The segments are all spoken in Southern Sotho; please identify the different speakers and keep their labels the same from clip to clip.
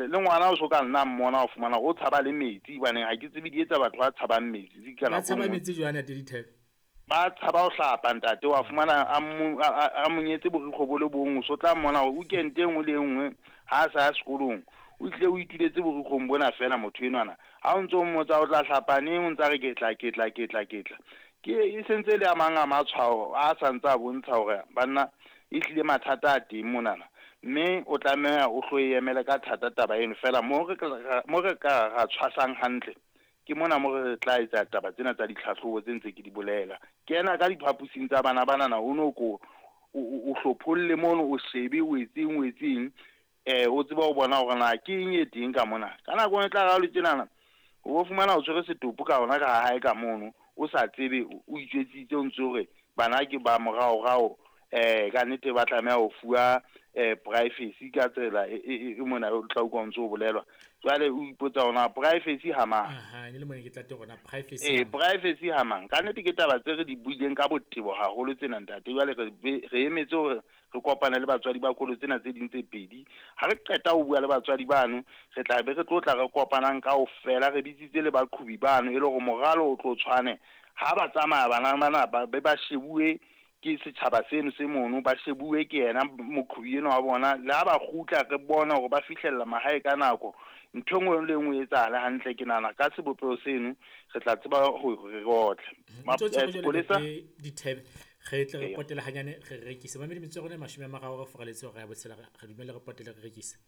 Speaker 1: Le ngwana o so ka nna mmona o fumana o tshaba le metsi, hobaneng ha ke tsebe di etsa batho ba tshabang metsi tse ka
Speaker 2: Ba
Speaker 1: nako
Speaker 2: tshaba
Speaker 1: nngwe.
Speaker 2: metsi jwang ntate Dithebe?
Speaker 1: Ba tshaba ho hlapa ntate, wa fumana a monyetse borikgwe bo le bong, o so tla mmona hore weekend e nngwe le e nngwe ha a sa ya sekolong o tlile o ituletse borikgong bona fela motho enwana. Ha o ntso mmotsa o tla hlapa neng, o ntsa re ke tla, ke tla, ke tla, ke tla. Ke e sentse le a mang a matshwao a sa ntse a bontsha hore banna e hlile mathata a teng monana, mme o tlameha o hlo e emele ka thata taba eno. Fela mo re ka ra tshwasang hantle ke mona mo re tla etsa taba tsena tsa ditlhahlobo tse ntse ke di bolela. Kena ka diphaposing tsa bana banana, o no ko o hlopholle mono, o shebe o etseng, o etseng, o tsebe ho bona hore na ke eng e teng ka mona. Ka nako e tla ra le tjenana, o bo fumana o tshwere setopo ka hona ka hae ka mono, o sa tsebe, o itjwetsitse o ntse hore bana ke ba moraorao, ka nnete ba tlameha ho fuwa privacy ka tsela e mona o tla utlwa o ntse o bolelwa. Jwale o ipotsa hore na privacy ha mang.
Speaker 2: Aha, ne le mona ke tla teng hore na privacy.
Speaker 1: Privacy ha mang. Ka nnete ke taba tse re di buileng ka botebo haholo tsena ntate. Jwale re emetse hore re kopane le batswadi ba kolo tsena tse ding tse pedi. Ha re qeta ho bua le batswadi bano, re tla be re tlo tla re kopanang kaofela, re bitsitse le baqhobi bano e le hore moralo o tlo tshwane. Ha ba tsamaya bana bana ba be ba shebuwe ke setjhaba seno se mono, ba shebuwe ke yena moqhobi enwa wa bona. Le ha ba kgutla re bone hore ba fihlella mahae ka nako, ntho e nngwe le nngwe e etsahale hantle. Ke nahana ka sebopeho seno re tla tseba hore re otle. Sepolesa
Speaker 2: Dithebe re tle re potele hanyane re rekise. Mamedi metso ya rona e 30 re foraletse hore ya botshela, re dumelle re potele re rekise.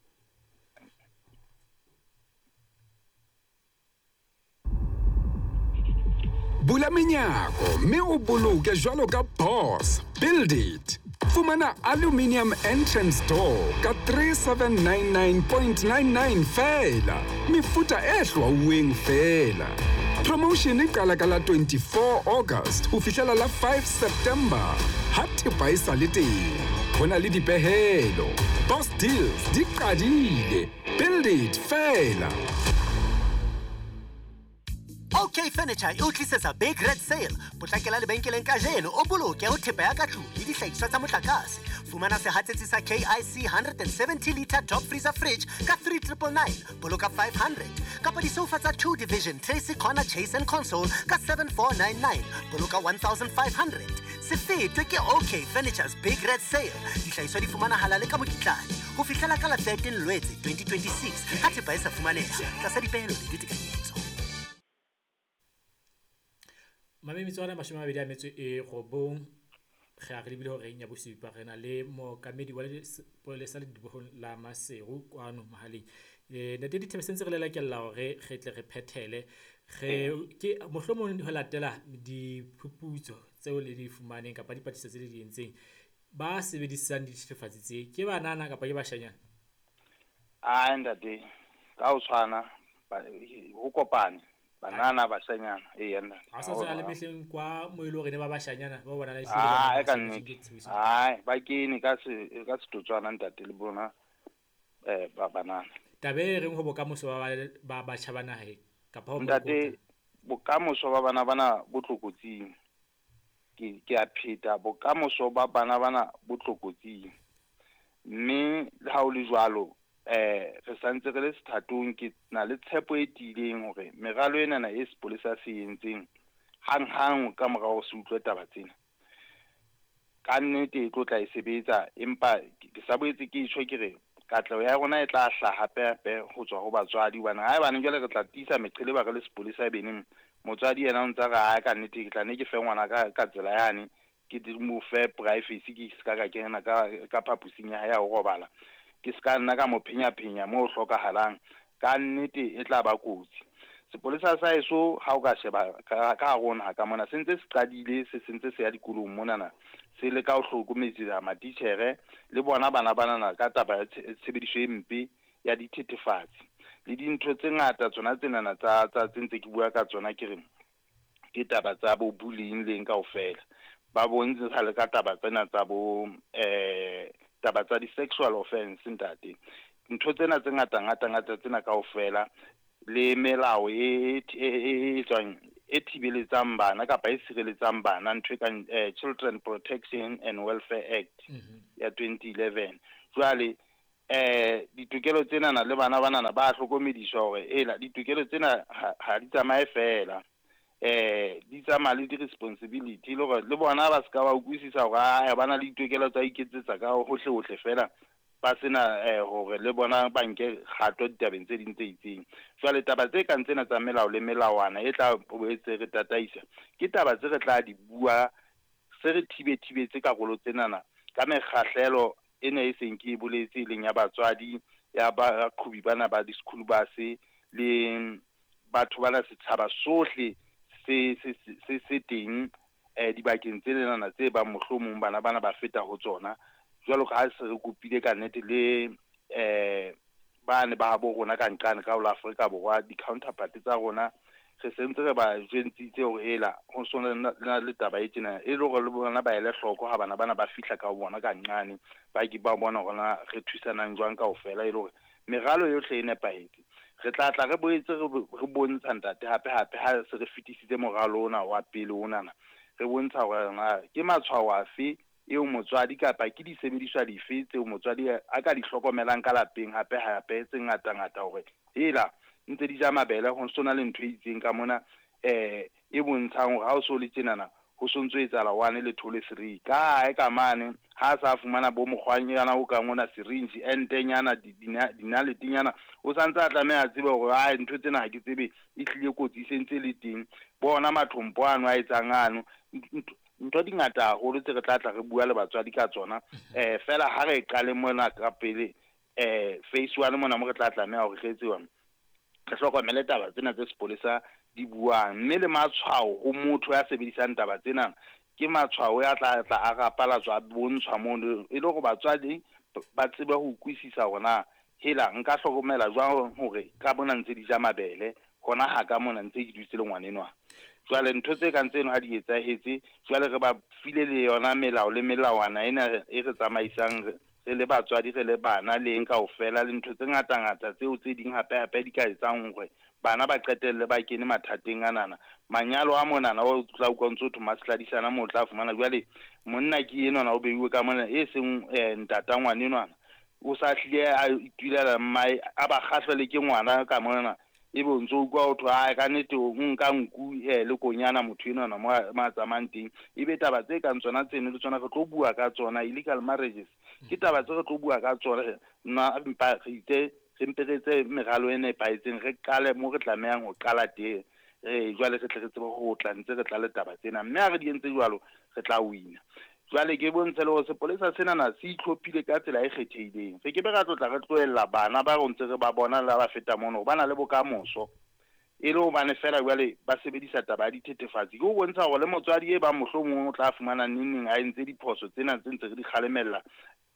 Speaker 3: Bula menyako mme o boloke jwalo ka boss. Build it. Fumana aluminium entrance door ka 3799.99 feela. Mefuta e hlwauweng feela. Promotion e qala ka la 24 August ho fihlela la 5 September. Ha thepa e sa le teng, ho na le dipehelo. Boss deals di qadile. Build it feela.
Speaker 4: OK Furniture e o tlisetsa Big Red Sale. Potlakela lebenkeleng kajeno o boloke ho thepa ya ka tlung le dihlahiswa tsa motlakase. Fumana sehatsetsi sa KIC 170 liter top freezer fridge ka 3999, boloka 500. Kapa disofa tsa 2 division Tracy Corner Chase and Console ka 7499, boloka 1500. Se fetwe ke OK Furniture's Big Red Sale. Dihlahiswa di fumanahala le ka mokitlane ho fihlela ka la 13 Lwetse 2026 ha thepa e sa fumaneha tlasa dipehelo le ditekanyetso.
Speaker 2: Mame metswana 29 re a re lebile horeng ya bosupa, re na le mookamedi wa sepolesa ledibohong la Maseru kwano mohaleng. Ntate Dithebe sentse re lelekella hore re tle re phethele, re ke mohlomong ho latela diphuputso tseo le di fumaneng kapa dipatlisiso tse le di entseng, ba sebedisang dithethefatsi tse ke banana kapa ke bashanyana?
Speaker 1: Ai ntate, ka ho tshwana ho kopane banana bashanyana. Eya nna.
Speaker 2: Ha sa tswa le mehleng kwa mo ile hore ne ba bashanyana ba bona le
Speaker 1: Ah, ka nnete. Ai, ba kene ka se ka setotswana ntate le bona ba banana.
Speaker 2: Taba e reng ho bokamoso ba batjha ba naha kapa ho
Speaker 1: ntate, bokamoso ba bana bana bo tlokotsing. Ke a pheta, bokamoso ba bana bana bo tlokotsing. Mme le ha o le jwalo, re santse re le sethatong, ke na le tshepo e tiileng hore meralo enana e sepolesa se entseng hanghang ka mora hore se utlwe taba tsena, ka nnete e tlo tla e sebetsa. Empa ke sa boetse ke tjho ke re katleho ya rona e tla hlaha hape hape ho tswa ho batswadi, hobane haebane jwale re tla tiisa meqhele ba re le sepolesa beneng, motswadi yena o ntsa re ha ka nnete ke tla ne ke fe ngwana ka tsela yane, ke mo fe privacy, ke ska ka kena ka phaposing ya hae ya ho robala, ke ska nna ka mo phenya-phenya mo hlokahalang, ka nnete e tla ba kotsi. Sepolesa sa heso ha o ka sheba ka rona ka mona se ntse se qadile, se sentse se ya dikolong monana, se le ka ho hlokometsa matitjhere le bona bana banana ka taba ya tshebediso e mpe ya dithethefatsi le dintho tse ngata tsona tsenana tsa tse ntse ke bua ka tsona, ke re ke taba tsa bo bullying leng kaofela. Ba bontsha le ka taba tsena tsa bo taba tsa di-sexual offense ntate. Ntho tsena tse ngata ngata ngata tsena kaofela le melao e tswang e thibeletsang bana kapa e sireletsang bana, ntho e kang Children Protection and Welfare Act ya 2011. Jwale Ditokelo tsenana le bana banana ba hlokomediswa hore ela ditokelo tsena ha di tsamaye fela. Di tsamaya le di-responsibility, le hore le bona ba ska ba utlwisisa hore a ba na le ditokelo tsa iketsetsa ka hohle hohle fela, ba sena hore le bona ba nke kgato ditabeng tse ding tse itseng. Jwale taba tse kang tsena tsa melao le melawana e tla boetse re tataisa, ke taba tse re tla di bua se re thibethibetse karolo tsenana ka mekgahlelo ena e seng ke e boletse, e leng ya batswadi, ya baqhobi bana ba di-school bus, le batho bana, setjhaba sohle se teng dibakeng tse lenana tse bang mohlomong bana bana ba feta ho tsona. Jwalo ka ha se re kopile ka nnete le bane ba bo rona ka nqane ka ho la Afrika Borwa, di-counterpart tsa rona, re sentse re ba jwentsitse hore ela ho so na le taba e tjena, e le hore le bona ba ele hloko ha bana bana ba fihla ka ho bona ka nqane, ba ke ba bona hore na re thusanang jwang kaofela, e le hore meralo yohle e nepahetse. Re tla tla re boetse re bontsha ntate hape hape ha se re fetisitse moralo ona wa pele onana, re bontsha hore na ke matshwao afe eo motswadi kapa ke disebediswa dife tseo motswadi a ka di hlokomelang ka lapeng hape hape tse ngata ngata, hore hela ntse di ja mabele ho so na le ntho e itseng ka mona e bontshang hore ha o so le tjenana ho so ntso etsahala 1 le 2 le 3. Ka hae ka mane ha sa fumana bo mokgwanyana o kang ona syringe entenyana dinaletenyana, o santse a tlameha a tsebe hore ai ntho tsena ha ke tsebe e hlile kotsi se ntse le teng. Bona mathompo ano a etsang ano, ntho di ngata haholo tse re tla tla re bua le batswadi ka tsona. Fela ha re qale mona ka pele phase 1 mona mo re tla tlameha hore re etse re hlokomele taba tsena tse sepolesa di buang, mme le matshwao ho motho ya sebedisang taba tsena ke matshwao ya tla tla a rapalatswa a bontshwa mono, e le hore batswadi ba tsebe ho utlwisisa hore na hela nka hlokomela jwang hore ka mona ntse di ja mabele, hona ha ka mona ntse ke dutse le ngwanenwa. Jwale ntho tse kang tseno ha di etsahetse, jwale re ba file le yona melao le melawana ena e re tsamaisang re le batswadi, re le bana le eng kaofela, le ntho tse ngata-ngata tseo tse ding hape-hape di ka etsang hore bana ba qetelle ba kene mathateng anana. Manyalo a monana o tla utlwa ntso thwe masladisana moo o tla fumana jwale monna ke enwana o beiwe ka mona e seng ntata ngwanenwana, o sa hlile a itulela mmae a ba kgahlwe le ke ngwana ka mona, ebe o ntso utlwa ho thwe ai ka nnete o nka nku le konyana motho enwana mo a tsamayang teng. Ebe taba tse kang tsona tseno le tsona re tlo bua ka tsona, illegal marriages ke taba tse re tlo bua ka tsona. Nna mpa re itse re mpe re etse meralo e nepahetseng, re qale mo re tlamehang ho qala teng, jwale re tle re tsebe ho tla ntse re tla le taba tsena, mme ha re di entse jwalo re tla wina. Jwale ke bontshe le hore sepolesa senana se itlhophile ka tsela e kgethehileng. Re ke be ra tlotla re tlohella bana ba re ntse re ba bona le ba feta mono, ba na le bokamoso, e le hobane fela jwale ba sebedisa taba ya dithethefatsi. Ke ho bontsha hore le motswadi e bang mohlomong o tla fumana neng neng a entse diphoso tsena tse ntse re di kgalemella,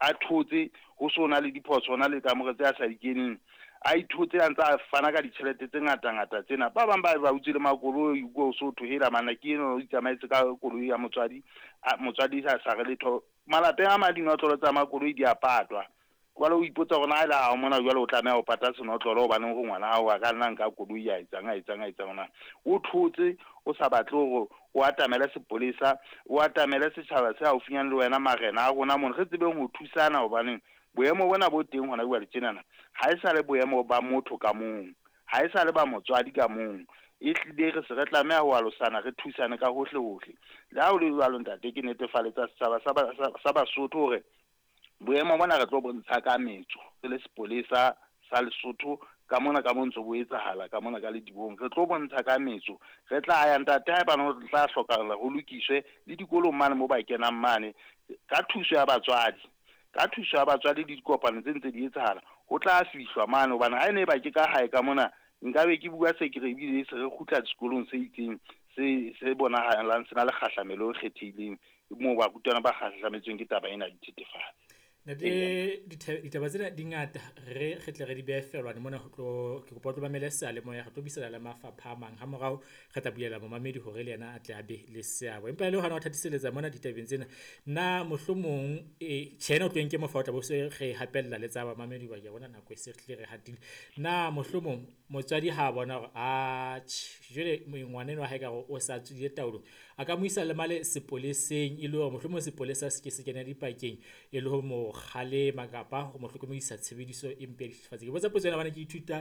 Speaker 1: a thotse ho so na le diphoso, hona le kamore tse a sa di keneng, a ithotse a ntse a fana ka ditjhelete tse ngata-ngata tsena. Ba bang ba ba utswile makoloi ko so thwe hela mana ke eno o itsamaetse ka koloi ya motswadi, motswadi sa sa re letho. Malapeng a mang dinotlolo tsa makoloi di a patwa, jwale o ipotsa hore na ha ele ha mona jwale o tlameha ho pata senotlolo hobane hore ngwana hao a ka nna nka koloi ya etsang a etsang a etsang na. O thotse o sa batle hore o atamele sepolesa, o atamele setjhaba se haufinyane le wena, marena a rona mona re tsebeng ho thusana, hobaneng boemo bona bo teng hona jwale tjenana ha e sa le boemo ba motho ka mong, ha e sa le ba motswadi ka mong, e hlile re se re tlameha ho alosana, re thusane ka hohle hohle. Le ha ho le jwalo ntate, ke netefaletsa setjhaba sa Basotho hore boemo bona re tlo bontsha ka metso re le sepolesa sa Lesotho ka mona ka mo ntso bo etsahala ka mona ka ledibong, re tlo bontsha ka metso. Re tla ya ntate haebane ho tla hlokahala ho lokiswe le dikolong mane mo ba kenang mane, ka thuso ya batswadi, ka thuso ya batswadi le dikopano tse ntse di etsahala, ho tla fihlwa mane. Hobane ha e ne ba ke ka hae ka mona, nkabe ke bua se ke re ebile se re kgutla sekolong se itseng se bonahalang se na le kgahlamelo e kgethehileng moo barutwana ba kgahlametsweng ke taba ena ya dithethefatsi.
Speaker 2: Ntate, ditaba tsena di ngata, re tle re di behe felwane mona, ho tlo ke kopa o tlo mamele seyalemoya, re tlo buisana le mafapha a mang ha morao, re tla bulela momamedi hore le yena a tle a be le seabo. Empa le hona ho thatiseletsa mona ditabeng tsena, na mohlomong tjhe ena o tlo nke mofa o tla bo se re hapella le tsa bamamedi ba ke bona nako e se hlile re hatile. Na mohlomong motswadi ha bona hore a jwale ngwana enwa ha ekare o sa tswile taolong, a ka mo isa le male sepoleseng, e le hore mohlomong sepolesa se ke se kena dipakeng e le ho mo kgalema kapa ho mo hlokomedisa tshebediso e mpe ya dithethefatsi? Ke botsa potso ena hobane ke ithuta.